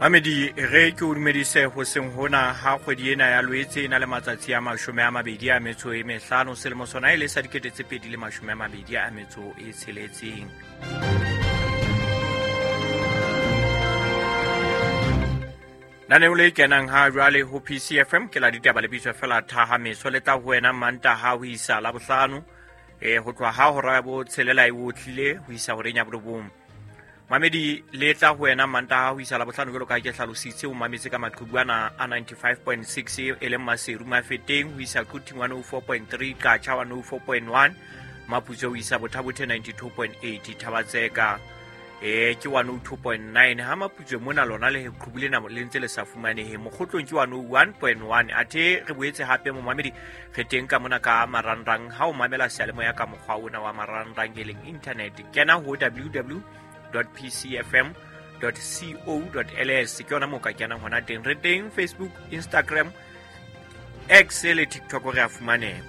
Mamedi re ke o dumedise hoseng hona ha kgwedi ena ya Loetse e na le matsatsi a 25 selemo sona e le sa 2026. Lenaneo le kenang ha jwale ho PCFM ke la ditaba le bitswa fela Thahameso, le tla ho wena Mantaha ho isa Labohlano, ho tloha ha hora ya 6 e otlile ho isa horeng ya 9. Mamedi le tla ho wena Mantaha ho isa Labohlano jwalo ka ke hlalositse, o mametse ka maqhubu ana a 95.6 e leng Maseru Mafeteng ho isa Quthing 104.3, Qacha 104.1, Maputsoe ho isa Bothabothe 92.8, Thabatseka ke 102.9. Ha Maputsoe mona lona le qhubu lena le ntse le sa fumanehe, Mokgotlong ke 101.1. Athe re boetse hape momamedi re teng ka mona ka marangrang, ha o mamela seyalemoya ka mokgwa ona wa marangrang e leng internet, kena ho www.pcfm.co.ls, ke yona moo ka kenang hona teng. Re teng Facebook, Instagram, X le TikTok, re a fumaneha.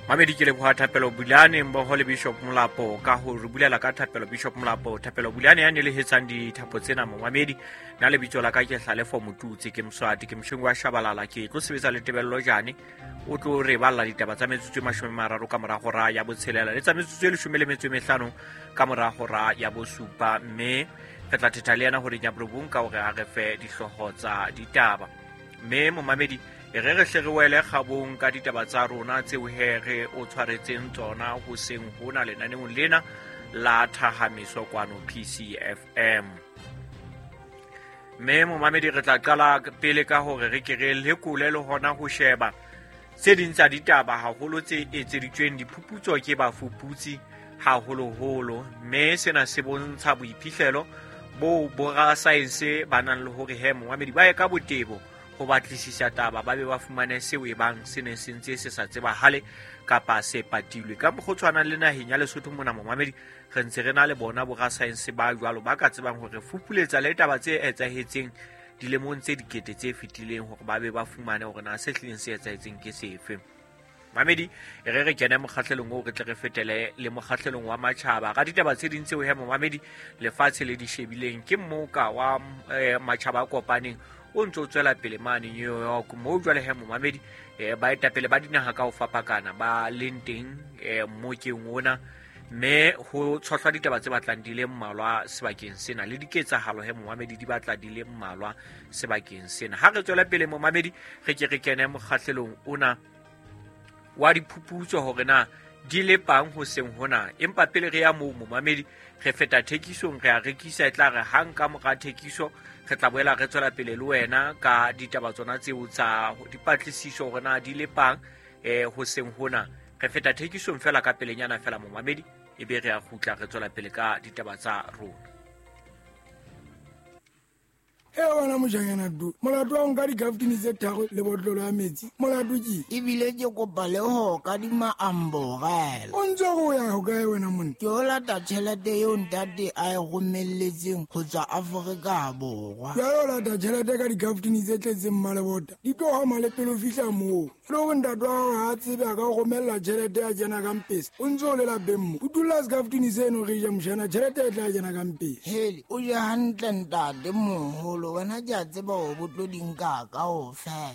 Mamedi ke leboha Thapelo Bulane mmoho le Bishop Molapo ka ho re bulela ka Thapelo. Bishop Molapo, Thapelo Bulane ya nelehetsang dithapo tsena momamedi. Nna lebitso la ka ke Hlalefo Motutsi, ke Moswati, ke moshong wa Shabalala, ke tlo sebetsa le Tebello Jane, o tlo re balla ditaba tsa metsotso e 30 ka mora hora ya 6 le tsa metsotso e 15 ka mora hora ya 7, mme re tla thetha le yena horeng ya 9 ka hore a re fe dihlooho tsa ditaba. Mme momamedi e re re hle re wele kgabong ka ditaba tsa rona tseo he re o tshwaretseng tsona hoseng hona lenaneong lena la Thahameso kwano PCFM. Mme momamedi re tla qala pele ka hore re ke re lekole le hona ho sheba tse ding tsa ditaba haholo tse etseditsweng diphuputso ke bafuputsi haholoholo, mme sena se bontsha boiphihlelo bo borasaense ba nang le hore he momamedi ba ye ka botebo ho batlisisa taba, ba be ba fumane seo e bang se ne se ntse se sa tsebahale kapa se patilwe. Ka mokgwa o tshwanang le naheng ya Lesotho mona momamedi re ntse re na le bona borasaense ba jwalo ba ka tsebang hore fupuletsa le taba tse etsahetseng dilemong tse dikete tse fetileng hore ba be ba fumane hore na se hlileng se etsahetseng ke sefe. Mamedi e re re kene mokgahlelong oo, re tle re fetele le mokgahlelong wa matjhaba ka ditaba tse ding tseo he momamedi lefatshe le di shebileng. Ke mmoka wa matjhaba a kopaneng o ntse o tswela pele mane New York, moo jwale he momamedi baetapele ba dinaha ka ho fapakana ba leng teng mmokeng ona, mme ho tshohlwa ditaba tse batlang di le mmalwa sebakeng sena le diketsahalo he momamedi di batla di le mmalwa sebakeng sena. Ha re tswela pele momamedi re ke re kene mokgahlelong ona wa diphuputso hore na di lepang hoseng hona. Empa pele re ya moo momamedi re feta thekisong, re a rekisa, e tla re hang ka mora thekiso re tla boela re tswela pele le wena ka ditaba tsona tseo tsa dipatlisiso hore na di lepang hoseng hona. Re feta thekisong fela ka pelenyana fela momamedi, ebe re a kgutla re tswela pele ka ditaba tsa rona. E wena mojanyana du, molato wa nka dikaftini tse 3 le botlolo ya metsi, molato ke ebile ke kopa le ho kadima amborela. O ntse o ya ho kae wena monna? Ke o lata tjhelete eo ntate a e romelletseng ho tswa Afrika Borwa. Jwale o lata tjhelete ka dikaftini tse tletseng mmalebota, di tlo hama le pele o fihla moo. Le hore ntate wa hao ha a tsebe a ka o romella tjhelete ya kena ka mpesa, o ntse o le lapeng mo. O dula sekaftini seno re ja mojana, tjhelete e tla kena ka mpesa. Hele, o je hantle ntate moholo, wena ke a tseba hore bo tlo di nka kaofela.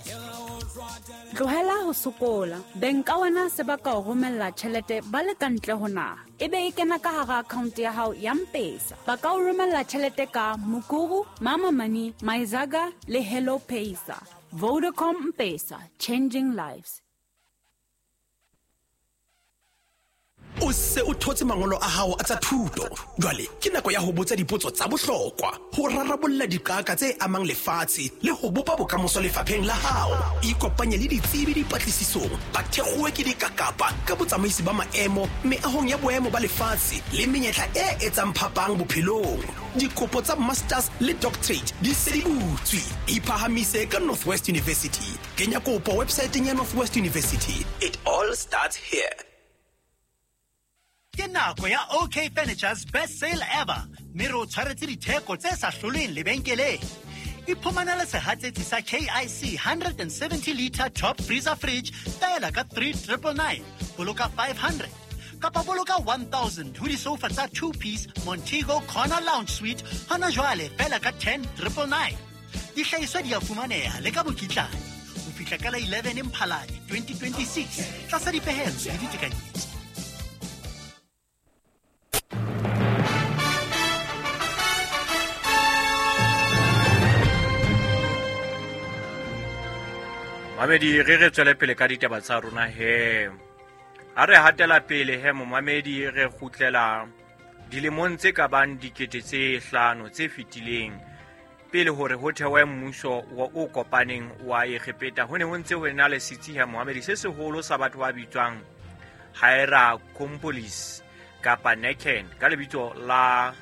Tlohela ho sokola. Beng ka wena se ba ka o romella tjhelete ba le ka ntle ho naha, ebe e kena ka hara account ya hao ya M-Pesa. Ba ka o romella tjhelete ka Mukuru, Mama Money, Myzaga le Hello Pesa. Vodacom M-Pesa, changing lives. O se o thotse mangolo a hao a tsa thuto. Jwale ke nako ya ho botsa dipotso tsa bohlokwa, ho rarabolla diqaka tse amang lefatshe le ho bopa bokamoso lefapheng la hao. Ikopanye le ditsebi dipatlisisong, ba thekgowe ke dikakapa ka botsamaisi ba maemo meahong ya boemo ba lefatshe le menyetla e etsang phapang bophelong. Dikopo tsa masters le doctorate di se di butswe. Iphahamise ka Northwest University. Kenya kopo websaeteng ya Northwest University. It all starts here. Ke nako ya OK Furniture's best sale ever, mme re o tshwaretse ditheko tse sa hloleng lebenkeleng. Iphumanele sehatsetsi sa KIC 170 liter top freezer fridge fela ka 3999, boloka 500. Kapa boloka 1000 ho disoufa tsa 2-piece Montego Corner Lounge Suite hona jwale feela ka 10999. Dihlahiswa di a fumaneha le ka mokitlane ho fihla ka la 11 Mphalane 2026 tlasa dipehelo le ditekanyetso. Mamedi, re re tswele pele ka ditaba tsa rona he. Ha re hatela pele he momamedi, re kgutlela dilemong tse ka bang 5,000 tse fetileng pele hore ho thewe mmuso o kopaneng wa Egepeta. Ho ne ho ntse ho ena le setsi he momamedi se seholo sa batho ba bitswang Hierakonpolis kapa Nekhen ka lebitso la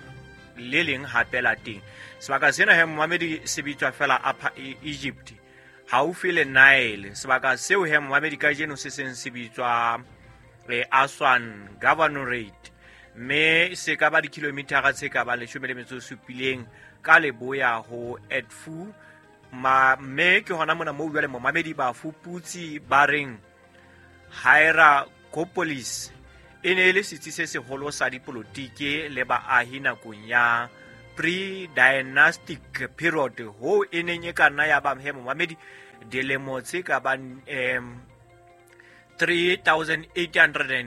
le leng hape la teng. Sebaka sena he momamedi se bitswa fela Upper Egypt, haufi le Nile. Sebaka seo he momamedi kajeno se seng se bitswa Aswan Governorate, mme se ka ba dikilomithara tse ka bang 17 ka leboya ho Edfu. Mme ke hona mona moo jwale momamedi bafuputsi ba reng Hierakonpolis e ne e le setsi se seholo sa dipolotiki le baahi nakong ya pre-dynastic period, ho e neng e ka nna ya ba he momamedi dilemo tse ka bang 3800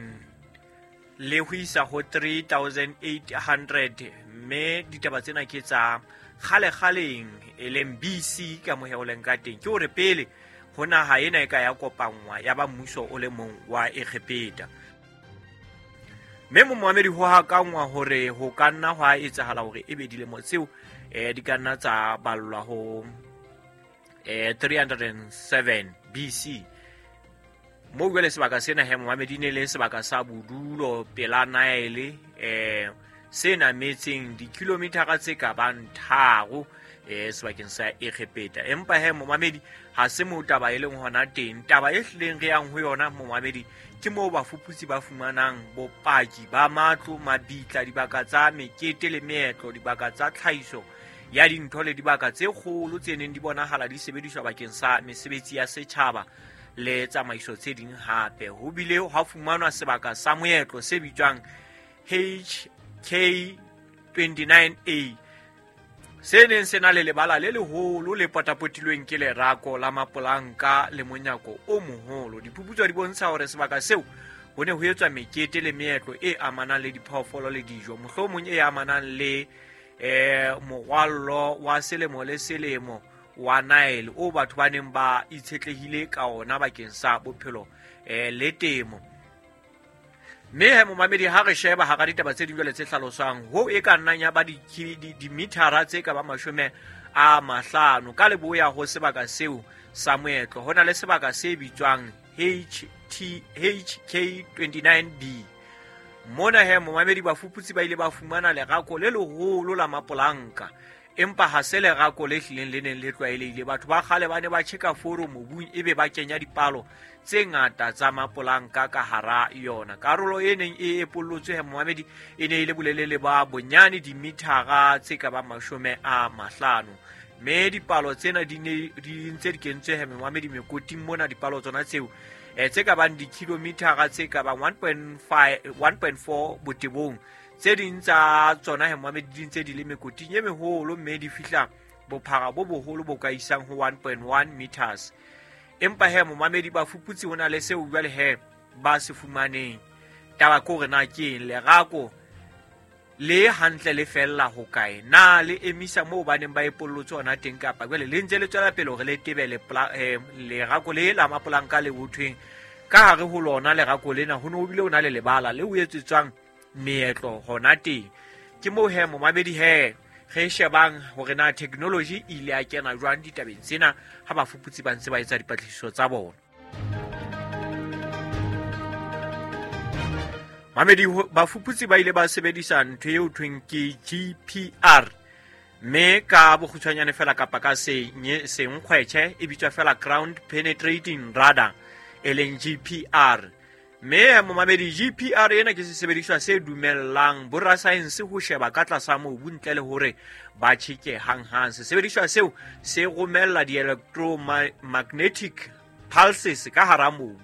le ho isa ho 3800. Mme ditaba tsena ke tsa kgale-kgaleng e leng BC ka mohe o leng ka teng. Ke hore pele ho naha ena e ka ya kopanngwa ya ba mmuso o le mong wa Egepeta. Mme momamedi ho hakangwa hore ho ka nna hwa etsahala hore ebe dilemo tseo di ka nna tsa ballwa ho 307 BC. Moo jwale sebaka sena he momamedi ne le sebaka sa bodulo pela Nile, se nametseng dikilomithara tse ka bang 3 sebakeng sa Egepeta. Empa he momamedi ha se moo taba e leng hona teng. Taba e hlileng re yang ho yona momamedi ke moo bafuputsi ba fumanang bopaki ba matlo, mabitla, dibaka tsa mekete le meetlo, dibaka tsa tlhahiso ya dintho le dibaka tse kgolo tse neng di bonahala di sebediswa bakeng sa mesebetsi ya setjhaba le tsamaiso tse ding hape. Ho bile hwa fumanwa sebaka sa moetlo se bitswang HK29A se neng se na le lebala le leholo le potapotilweng ke lerako la mapolanka le monyako o moholo. Diphuputso di bontsha hore sebaka seo ho ne ho etswa mekete le meetlo e amanang le diphoofolo le dijo, mohlomong e amanang le morwallo wa selemo le selemo wa Nile o batho ba neng ba itshetlehile ka ona bakeng sa bophelo le temo. Mme he momamedi ha re sheba hara ditaba tse ding jwale tse hlaloswang, ho e ka nnang ya ba dimithara tse ka ba 50 ka leboya ho sebaka seo sa moetlo, ho na le sebaka se bitswang HK29B. Mona he momamedi bafuputsi ba ile ba fumana lerako le leholo la mapolanka, empa ha se lerako le hlileng le neng le tlwaelehile. Batho ba kgale ba ne ba tjheka foro mobung ebe ba kenya dipalo tse ngata tsa mapolanka ka hara yona. Karolo e neng e epollotswe he momamedi e ne e le bolelele ba bonyane dimithara tse ka bang 50. Mme dipalo tsena di ne di ntse di kentswe he momamedi mekoting mona, dipalo tsona tseo tse ka bang dikilomithara tse ka bang 1.4 botebong. Tse ding tsa tsona he momamedi di ntse di le mekoting e meholo, mme di fihla bophara bo boholo bo ka isang ho 1.1 meters. Empa he momamedi bafuputsi ho na le seo jwale he ba se fumaneng. Taba ke hore na ke eng lerako le hantle le fella ho kae, na le emisa moo ba neng ba epollotse hona teng, kapa jwale le ntse le tswela pele hore le tebe lerako le la mapolanka le hothweng ka hare ho lona lerako lena ho ne ho bile ho na le lebala le ho etsetswang meetlo hona teng. Ke moo he momamedi he re shebang hore na technology e ile ya kena jwang ditabeng tsena ha bafuputsi ba ntse ba etsa dipatlisiso tsa bona. Mamedi, bafuputsi ba ile ba sebedisa ntho eo thweng ke GPR, mme ka bokgutshwanyane fela kapa ka senkgwetjhe e bitswa fela ground penetrating radar, e leng GPR. Mme momamedi, GPR ena ke sesebediswa se dumellang borasaense ho sheba ka tlasa mobu ntle le hore ba tjheke hanghang. Sesebediswa seo se romella di-electromagnetic pulses ka hara mobu,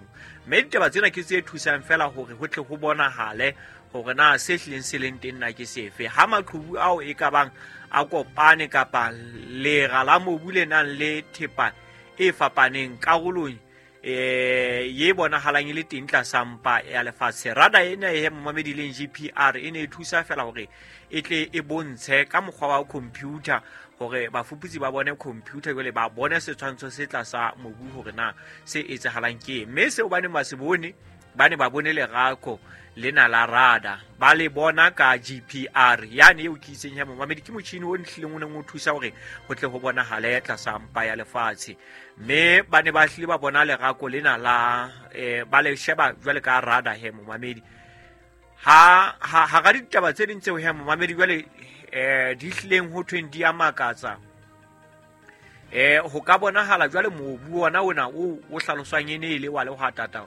Mme ditaba tsena ke tse thusang fela hore ho tle ho bonahale hore na se hlileng se leng teng na ke sefe. Ha maqhubu ao e ka bang a kopane kapa lera la mobu le nang le thepa e fapaneng karolong ye bonahalang e le teng tlasa mpa ya lefatshe. Radar ena e momamedi leng GPR e ne e thusa fela hore e tle e bontshe ka mokgwa wa computer hore bafuputsi ba bone computer jwale ba bone setshwantsho se tlasa mobu hore na se etsahalang ke eng. Mme seo ba neng ba se bone, ba ne ba bone lerako lena la radar, ba le bona ka GPR yane eo ke itseng ya momamedi ke motjhini o nhlileng o neng o thusa hore ho tle ho bonahale tlasa mpa ya lefatshe. Mme ba ne ba hlile ba bona lerako lena la ba le sheba jwale ka radar he momamedi. Ha hara ditaba tse ding tseo he momamedi jwale di hlileng ho thweng di a makatsa. Ho ka bonahala jwale mobu ona ona o hlaloswang e ne e le wa lehwatata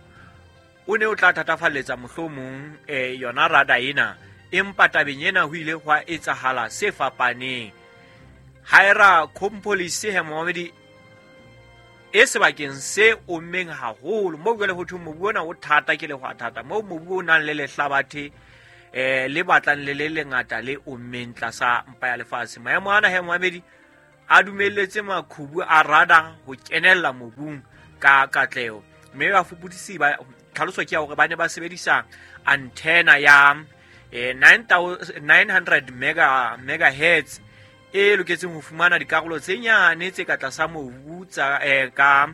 o ne o tla thatafalletsa mohlomong yona radar ena, empa tabeng ena ho ile hwa etsahala se fapaneng. Hierakonpolis he momamedi e sebakeng se ommeng haholo moo jwale ho thweng mobu ona o thata ke lehwatata, moo mobu o nang le lehlabathe le batlang le le lengata le ommeng tlasa mpa ya lefatshe. Maemo ana he momamedi a dumelletse maqhubu a radar ho kenella mobung ka katleho. Mme bafuputsi ba tlhaloso ke ya hore ba ne ba sebedisa antenna ya 900 megahertz e loketseng ho fumana dikarolo tse nyane tse ka tlasa mobu tsa ka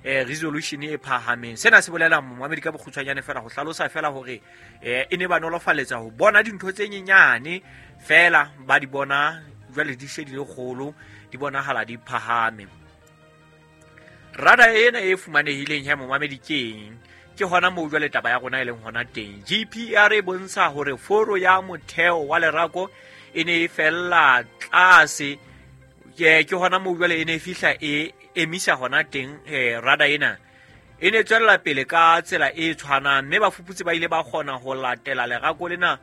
resolution e phahameng. Sena se bolela momamedi ka bokgutshwanyane fela ho hlalosa fela hore e ne ba nolofaletsa ho bona dintho tse nyenyane fela ba di bona jwale di she di le kgolo, di bonahala di phahame. Radar ena e fumanehileng ya momamedi ke eng? Ke hona moo jwale taba ya rona e leng hona teng. GPR e bontsha hore foro ya motheo wa lerako e ne e fella tlase, ke hona moo jwale e ne e fihla e emisa hona teng. Radar ena e ne tswella pele ka tsela e tshwanang, mme bafuputsi ba ile ba kgona ho latela lerako lena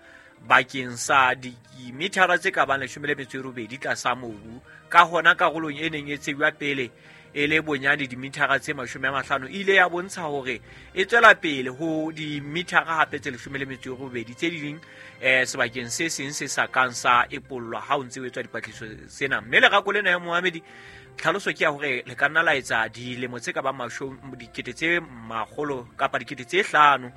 bakeng sa dimithara tse ka bang 18 tlasa mobu. Ka hona karolong e neng e tsejwa pele e le bonyane dimithara tse 50 e ile ya bontsha hore e tswela pele ho dimithara hape tse 18 tse ding sebakeng se seng se sa kang sa epollwa ha o ntse o etswa dipatlisiso tsena. Mme lerako lena ya momamedi tlhaloso ke ya hore le ka nna la etsa dilemo tse ka bang 100 kapa 5,000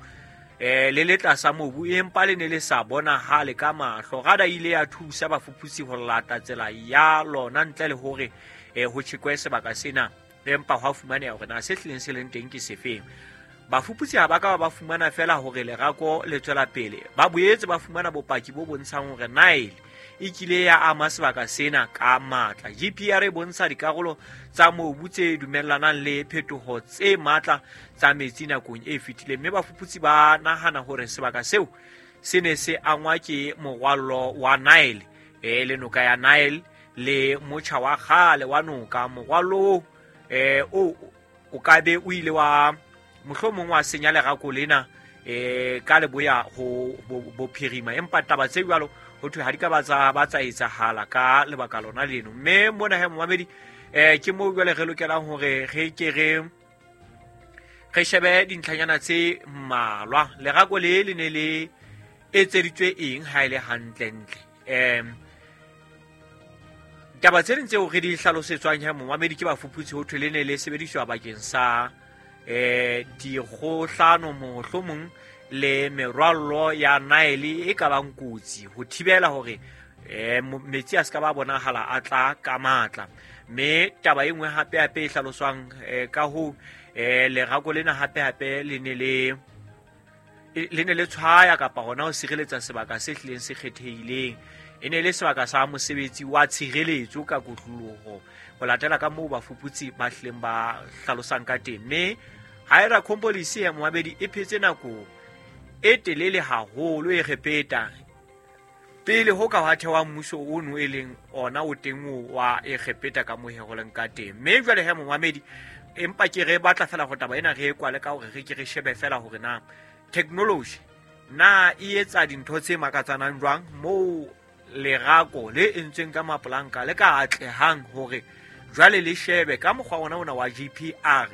le le tlasa mobu, empa le ne le sa bonahale ka mahlo. Radar ile ya thusa bafuputsi ho lata tsela ya lona ntle le hore ho tjhekwe sebaka sena, empa hwa fumaneha hore na se hlileng se leng teng ke sefeng. Bafuputsi ha ba ka ba fumana fela hore lerako le tswela pele, ba boetse ba fumana bopaki bo bontshang hore Nile e kile ya ama sebaka sena ka matla. GPR e bontsha dikarolo tsa mobu tse dumellanang le phetoho tse matla tsa metsi nakong e fetileng, mme bafuputsi ba nahana hore sebaka seo se ne se angwa ke morwallo wa Nile, le noka ya Nile le motjha wa kgale wa noka. Morwallo o ka be o ile wa mohlomong wa senya lerako lena ka leboya ho bophirima, empa taba tse jwalo ho thwe ha di ka ba tsa etsahala ka lebaka lona leno. Mme mona he momamedi ke moo jwale re lokelang hore re ke re shebe dintlhanyana tse mmalwa. Lerako le le ne le etseditswe eng ha e le hantlentle? Taba tse ding tseo re di hlalosetswang he momamedi ke bafuputsi ho thwe le ne le sebediswa bakeng sa dikgohlano mohlomong le merwallo ya Nile e ka bang kotsi, ho thibela hore metsi a se ka ba bonahala a tla ka matla. Mme taba e nngwe hape hape e hlaloswang ka ho lerako lena hape hape le ne le tshwaya kapa hona ho sireletsa sebaka se hlileng se kgethehileng. E ne le sebaka sa mosebetsi wa tshireletso ka kotloloho ho latela ka moo bafuputsi ba hlileng ba hlalosang ka teng. Mme Hierakonpolis ya momamedi e phetse nako e telele haholo Egepeta pele ho ka hwa thewa mmuso ono e leng ona o teng wa Egepeta ka moo ho leng ka teng. Mme jwale he momamedi, empa ke re batla fela ho taba ena re e kwale ka hore re ke re shebe fela hore na technology na e etsa dintho tse makatsanang jwang moo lerako le entsweng ka mapolanka le ka atlehang hore jwale le shebe ka mokgwa ona ona wa GPR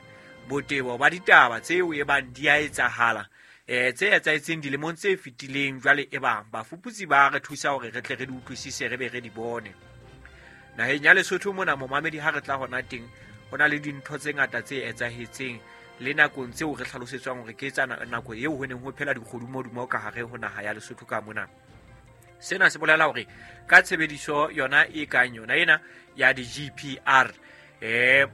Botebo ba ditaba tseo e bang di a etsahala tse etsahetseng dilemong tse fetileng, jwale e bang bafuputsi ba re thusa hore re tle re di utlwisise, re be re di bone. Naheng ya Lesotho mona momamedi, ha re tla hona teng, ho na le dintho tse ngata tse etsahetseng le nakong tseo re hlalosetswang hore ke tsa nako eo ho neng ho phela dikgodumodumo ka hare ho naha ya Lesotho ka mona. Sena se bolela hore ka tshebediso yona e kang yona ena ya di-GPR,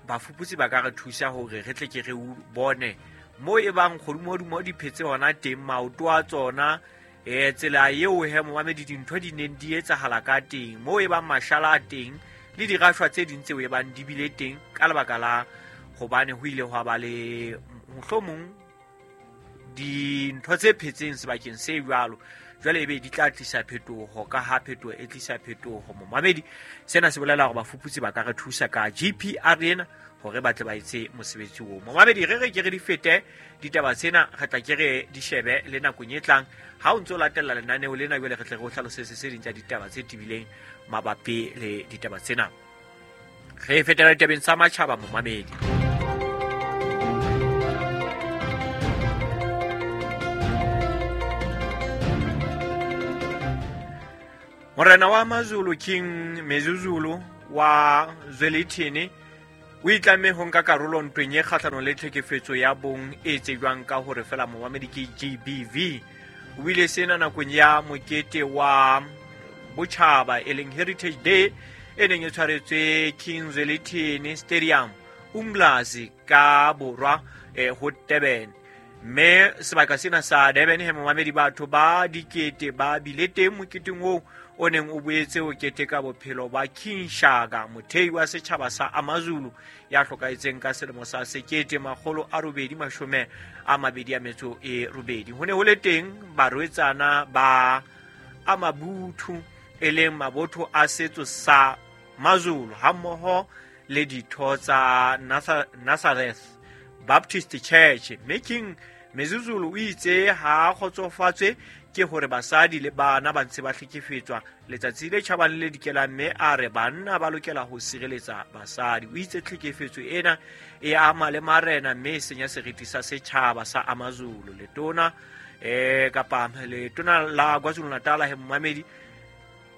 bafuputsi ba ka re thusa hore re tle ke re bone mo e bang kgodumodumo di phetse hona teng, maoto a tsona, tsela eo he momamedi dintho di neng di etsahala ka teng, mo e bang mashala a teng le dirashwa tse ding tseo e bang di bile teng ka lebaka la hobane ho ile hwa ba le mohlomong dintho tse phetseng sebakeng se jwalo. Jwale ebe di tla tlisa phetoho, ka ha phetoho e tlisa phetoho momamedi. Sena se bolela hore bafuputsi ba ka re thusa ka GPR ena hore ba tle ba etse mosebetsi oo. Momamedi, re re ke re di fete ditaba tsena, re tla ke re di shebe le nakong e tlang ha o ntso latella lenaneo lena. Jwale re tle re o hlalosetse tse ding tsa ditaba tse tebileng mabapi le ditaba tsena. Re fetela ditabeng tsa matjhaba momamedi. Morena wa Mazulu King Misuzulu wa Zwelithini o itlamme ho nka karolo ntweng e kgahlanong le tlhekefetso ya bong e tsejwang ka hore fela momamedi ke GBV. O ile sena nakong ya mokete wa botjhaba e leng Heritage Day e neng e tshwaretswe King Zwelithini Stadium Umlazi ka borwa ho Durban. Mme sebaka sena sa Durban he momamedi, batho ba dikete ba bile teng moketeng oo o neng o boetse o keteka bophelo ba King Shaka, mothei wa setjhaba sa Amazulu ya hlokahetseng ka selemo sa 1828. Ho ne ho le teng barwetsana ba Amabuthu e leng mabotho a setso sa Mazulu hammoho le ditho tsa Nazareth Baptist Church. Mme King Misuzulu o itse ha kgotsofatswe ke hore basadi le bana ba ntse ba hlekefetswa letsatsi le tjhabang le le dikelang, mme a re banna ba lokela ho sireletsa basadi. O itse tlhekefetso ena e ama le marena mme e senya seriti sa setjhaba sa Amazulu. Letona kapa letona la KwaZulu-Natal he momamedi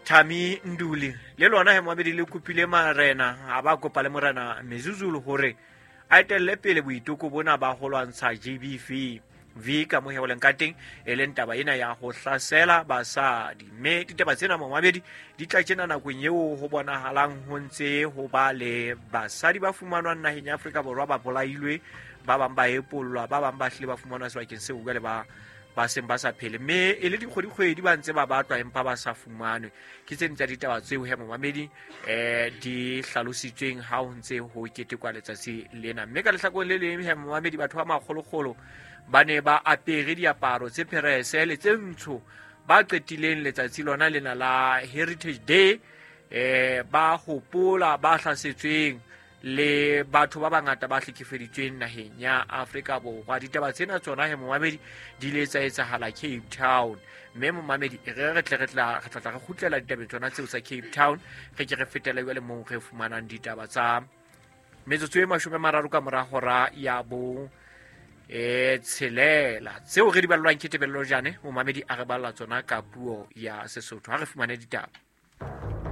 Thami Nduli le lona he momamedi le kopile marena, a ba kopa le morena Misuzulu hore a etelle pele boiteko bona ba ho lwantsha GBV V ka moheoleng ka teng, e leng taba ena ya ho hlasela basadi. Mme ditaba tsena momamedi di tla tjena nakong eo ho bonahalang ho ntse ho ba le basadi ba fumanwang naheng ya Afrika Borwa ba bolailwe, ba bang ba epollwa, ba bang ba hlile ba fumanwa sebakeng seo jwale ba seng ba sa phele, mme e le dikgwedi-kgwedi ba ntse ba batlwa empa ba sa fumanwe. Ke tse ding tsa ditaba tseo he momamedi di hlalositsweng ha ho ntse ho ketekwa letsatsi lena. Mme ka lehlakoreng le leng he momamedi, batho ba makgolokgolo ba ne ba apere diaparo tse pherese le tse ntsho ba qetileng letsatsi lona lena la Heritage Day, ba hopola ba hlasetsweng le batho ba bangata ba hlekefeditsweng naheng ya Afrika Borwa. Ditaba tsena tsona he momamedi di ile tsa etsahala Cape Town. Mme momamedi re tle re tla re kgutlela ditabeng tsona tseo tsa Cape Town, re ke re fetela jwale moo re fumanang ditaba tsa metsotso e 30 ka mora hora ya bo tshelela tseo re di ballwang ke Tebello Jane. Momamedi a re balla tsona ka puo ya Sesotho. Ha re fumane ditaba.